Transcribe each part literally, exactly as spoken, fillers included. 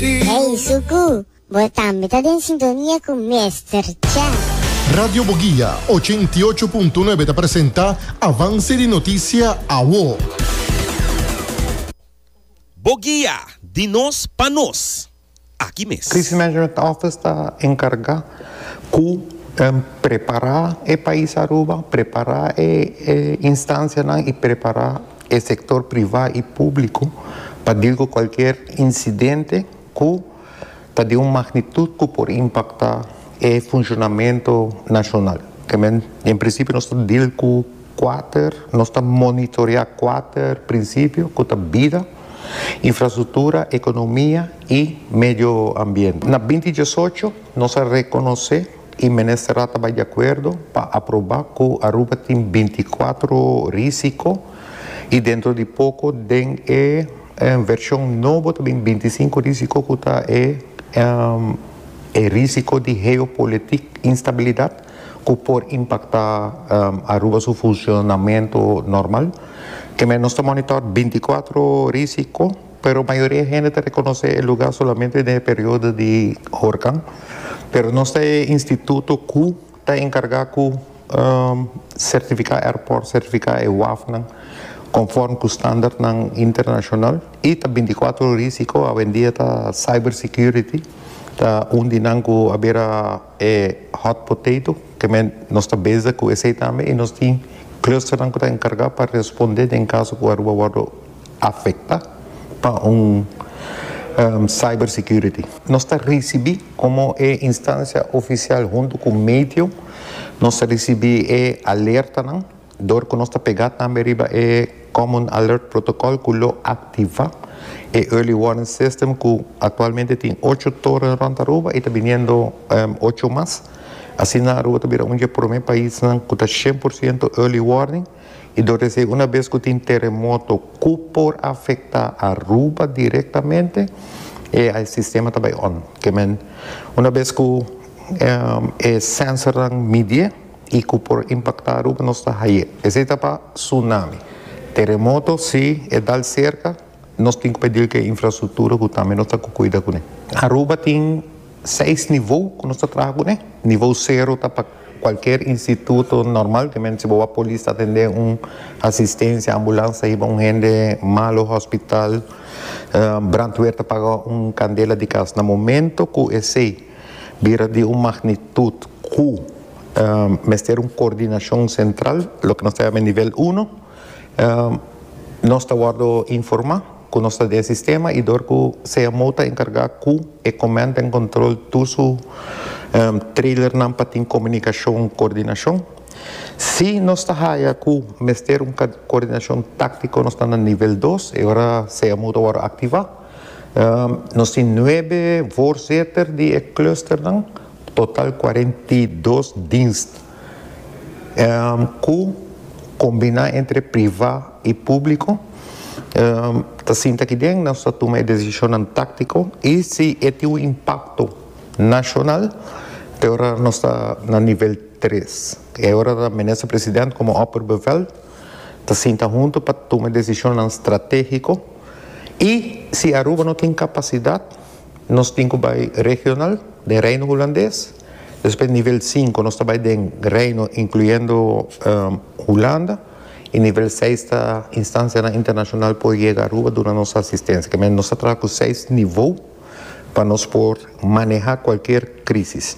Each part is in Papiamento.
Hey, Suku, bo tambe ta den sintonia ku Mister Cha. Radio Boguia ochenta i ocho punto nuebe ta presentá Avance di Notisia Awo. Boguia, di nos pa nos. Aki mes. Crisis Management Office ta enkargá ku um, prepará e pais Aruba, prepará e, e instansianan, i prepará e sektor privá i públiko pa deal ku kualke insidente ku ta di un magnitut ku por impaktá e funshonamentu nashonal. Ke men, en prinsipio, nos ta deal ku kuater, nos ta monitoriá kuater prinsipio, ku ta bida, infrastruktura, ekonomia i medio ambiente. Na dos mil diesocho, nos a rekonosé i minister tabata di akuerdo pa aprobá ku Aruba tin binti kuater rísiko i dentro di poko den e vershon nobo tambe binti sinku rísiko, ku ta e, um, e rísiko di geopolitiek instabilidat ku por impaktá um, Aruba su funshonamentu normal. Ke men nos ta monitor binti kuater rísiko, pero mayoria hende ta rekonosé e lugá solamente den periodo di orkan. Pero nos tin instituto ku ta enkargá ku um, sertifiká airport, sertifiká e waf conforme ku standard nan internashonal, i ta binti kuater rísiko. Awendia ta cyber security ta un di nan ku a bira e hot potato, ke men nos ta bezig ku esei tambe, i nos tin cluster nan ku ta enkargá pa respondé den kaso ku Aruba wòrdu afektá pa un um, cyber security. Nos ta risibí komo e instansia ofisial huntu ku medio, nos ta risibí e alerta nan, dor ku nos ta pegá tambe riba e Common Alert Protocol ku lo aktivá e Early Warning System, ku aktualmente tin ocho toren rònt Aruba i ta bini um, ocho mas. Asina Aruba ta bira un di e promé paisnan ku ta shen porshento early warning, i dor di unabes ku tin teremoto ku por afektá Aruba direktamente, e sistema ta bai on. Ke men unabes ku um, e sensor midi i ku por impaktá Aruba, nos ta hay'é. Esei ta pa tsunami. Teremoto, si e dal serka, nos tin ku pidi ku infrastruktura ku tambe nos ta kuida kuné. Aruba tin seis nivel ku nos ta trahando kuné. Nivel sero ta pa kualke instituto normal, ke men si bo polis atendé un asistensia, ambulans, hiba un hende malu hospital, um, brandweer ta paga un kandela di kas. Na momento ku esei bira di un magnitut ku um, mester un koordinashon sentral, loke nos ta yama nivel un, um, nos ta wòrdu informá ku nos ta den sistema i dor ku C M O ta enkargá ku e command and control tur su um, trailer nan pa tin komunikashon, koordinashon. Si nos ta haya ku mester un koordinashon táktiko, nos ta na nivel dos i ora C M O ta wòrdu aktivá. Um, nos tin nuebe voorzitter di e cluster nan, total kuarenta i dos dienst. Um, ku kombiná entre privá i públiko. Um, ta sinta aki den, nos ta tuma desishon táktiko i si e tin un impakto nashonal, te ora nos ta na nivel tres. E ora minister presidente komo opperbevel ta sinta huntu pa tuma desishon estratégiko, i si Aruba no tin kapasidat, nos tin ku bai regional, di Reino Hulandes. Despues nivel sinku nos ta bai di Reino, inkluyendo um, Hulanda. I nivel seis ta instansia internashonal por yega Aruba duna nos asistensia. Ke men nos ta ku seis nivel pa nos por manehá kualke krísis.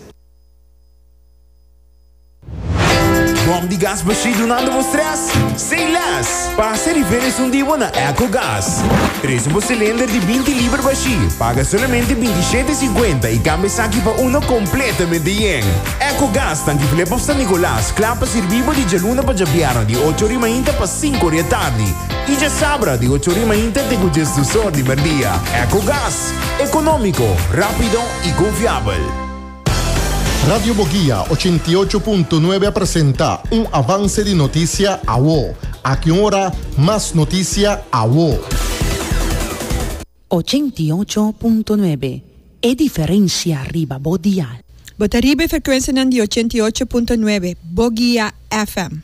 Bòm di gas bashí dunando bo stress? Say less! Pasa riba un dia na EcoGas. Trese un silinder di binti liber bashí. Paga solamente binti shete sinkuenta i kambia esaki pa uno kompletamente yen. EcoGas, Tanki Flip òf San Nicolas, kla pa sirbi di djaluna pa djabièrnè di ocho or di mainta pa sinku or di atardi. I djasabra di ocho or di mainta te diesdos or di mèrdia. EcoGas, ekonómiko, rápido i konfiabel. Radio Boguia ochenta i ocho punto nuebe presentá un Avance di Notisia Awo. Aki ora, mas notisia awo. ochenta i ocho punto nuebe. E diferensia riba bo dial. Bo ta riba frekuensia di ochenta i ocho punto nuebe, Boguia F M.